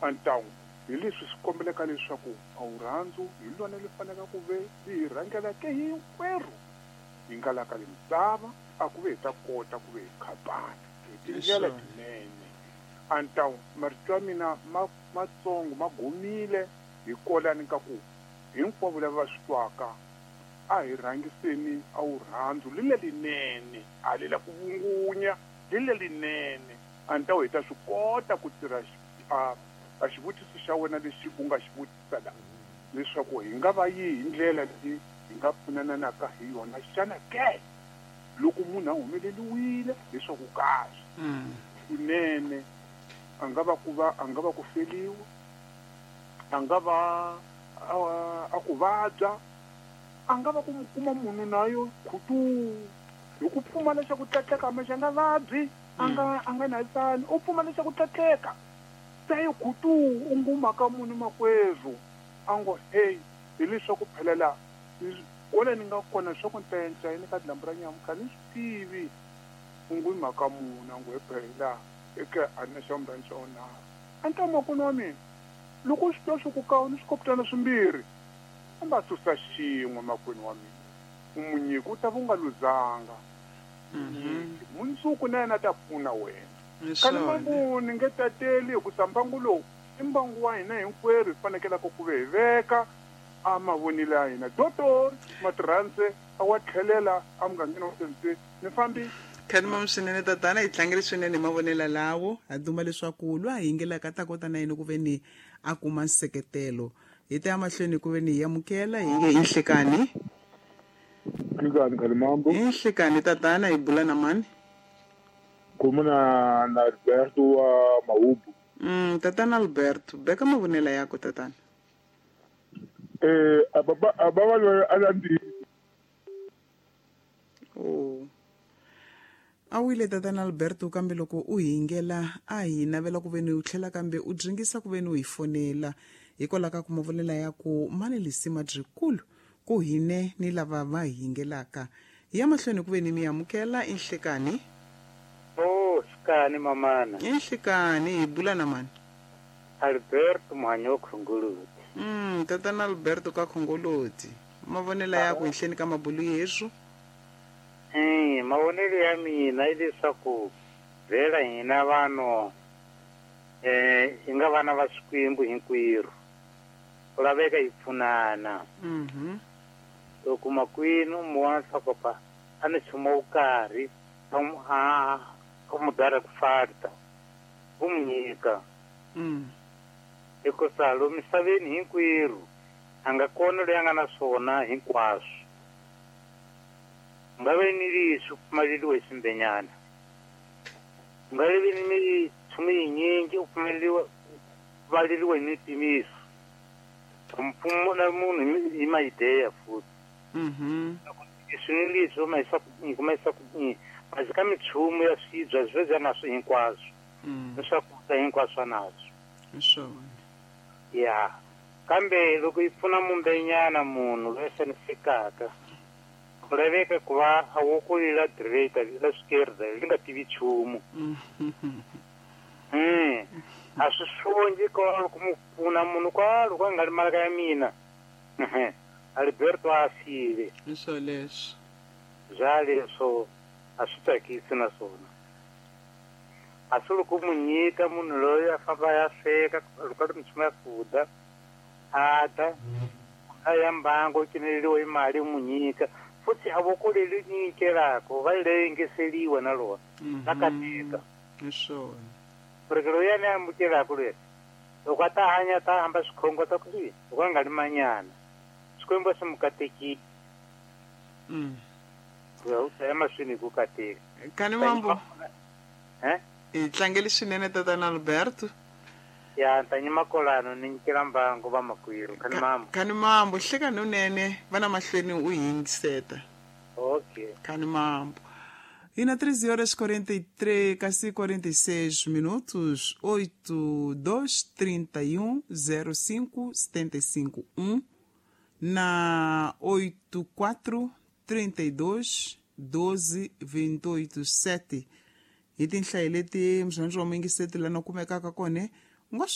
Antawu hi leswi swi kombeleka leswaku a wurhandzu hi lona li fanelaka ku ve li hi rhangelake hinkwerhu hi nga la ka le misava, a ku ve hi ta kota ku ve hi khapana hi tindlela tinene. Antawu marito ya mina ma matsongo ma gomile hi kolani ka ku hinkwavo lava va swi twaka a hi rhangiseni a wurhandzu li lelinene, a li la ku vungunya, li lelinene. Antawu hi ta swi kota ku tirha a a xivutiso xa wena lexi u nga xi vutisa la, leswaku hi nga va yihi ndlela leyi hi nga pfunananaka hi yona xana ke? Loko munhu a humeleliwile hi swa ku karhi, kunene a nga va ku va a nga va ku feliwa, a nga va a, a ku vabya, a nga va ku kuma munhu nayo khutuu hi ku pfumala xa ku tlatleka, hambi xa nga vabyi, a nga a nga na tsani, u pfumala xa ku tlatleka. Se yi khutuu u nguma ka munhu makwerhu a ngo hey hi leswaku phela la kwala ni nga kona swa ku ntayanca yini ka dlambu ra nyamutlha ni swi tivi u ngu hi mhaka muni a ngo he phela eke a ni na xa vumbirhi ni xa vunharhu a ni ta makwenu wa mina loko u swi twa swa ku ka u ni swikoputana swimbirhi famba susa xin'we makwenu wa mina u mu nyika u ta va u nga luzanga nyiki mundzuku na yena a ta pfuna wena. Kani mbangu ni nge tateli hikusa mbangu lowu i mbangu wa hina hinkwerhu hi fanekelaka ku ve hi veka a mavonelo ya hina. Dotor Matirhandze a wa tlhelela a mugangeni wa Senzeni. Ni fambi. Kani mam swinene tatana hi tlangele swinene hi mavonelo lawo ha duma leswaku loyi a yingelaka a ta kota na yena ku ve ni a kuma nseketelo hi ta ya mahlweni ku ve ni hi amukela hi nge i nhlekani. Nhlikani Khalimambo. I nhlekani tatana hi bula na mani? Khuluma na na Alberto wa Mahubu. Tatana Alberto, beka mavonela yako tatana. Eh, a baba a baba loyi a na ntiyiso. Oh. A wile tatana Alberto kambe loko u hi yingela a hi navela ku veni u tlhela kambe u dringisa ku veni u hi fonela hikwalaho ka ku mavonela ya ku mani lisima dyikulu ku hine ni lava va hi yingelaka. Hi ya mahlweni ku veni mi amukela i nhlekani. Oh, xikani mamana. I nhlekani, hi bula na mani? Alberto Muhanyi wa Khongoloti. Tatana Alberto ka Khongoloti. Mavonelo ya ku henhleni ka mabulu yeswu? Mavonelo ya mina i leswaku vhela hina vanhu hi nga vana va Xikwembu hinkwerhu. Ku laveka hi pfunana. Loko makwenu u mu vona leswaku pa a ni nchumu wo karhi a a a mu dara ku farta, u mu nyika. Hikusa lo misaveni hinkwerhu a nga kona loyi a nga na swona hinkwaswo. U nga vi ni leswi u pfumaleriwa hi swimbenyana. U nga vi ni minchumu yinyingi u pfumaleriwa pfumaleriwa hi mipimiso. Mpfumo na munhu hi maideya futhi. Leswi ni leswi ma yisa ku ma yisa ku masi ka minchumu ya swibya swi bya naswo hinkwaswo. Ni swakudya hinkwaswo naswo. Hi swona. Ya. Kambe loko yi pfuna mumbenyana munhu loyi a xanisekaka, ku laveka ku va a wokolila direta la swikerda li nga tivi nchumu. A swi swongi kwalo ku mu pfuna munhu kwalo ku a nga li malaka ya mina. Alberto a file. Hi swoleswo. Bya leswo a swi tsakisi na swona. A swi loko mu nyika munhu loyi a famba a ya sweka loko a ri minchumu ya ku dya a dya a ya mbango u cineleriwa hi mali u mu nyika futhi a voko leri nyikelaka va lengeseliwa na rona ra kateka. Hi swona. Porque loyi a ni amukelaka loyi loko a ta hanya ta hamba swikhongo ta ku i loko a nga ri manyana Xikwembu a xi mu katekile. U ta ya mahlweni hi ku kateka. Kani mambo. Eh? Hi tlangele swinene tatana Alberto. Ya ni ta nyima kolano ni nyikela mbangu vamakwerhu. Kani mambo. Kani mambo hlekani unene va na mahlweni u hi yingiseta. Okay. Kani mambo. E na 13 horas 43, quase 46 minutos, 8, 2, 31, 05, 75, 1, na 8, 4, 32, 12, 28, 7. Hi tinhlayo leti murhandzi wa muyingiseti lana kumekaka kona u nga swi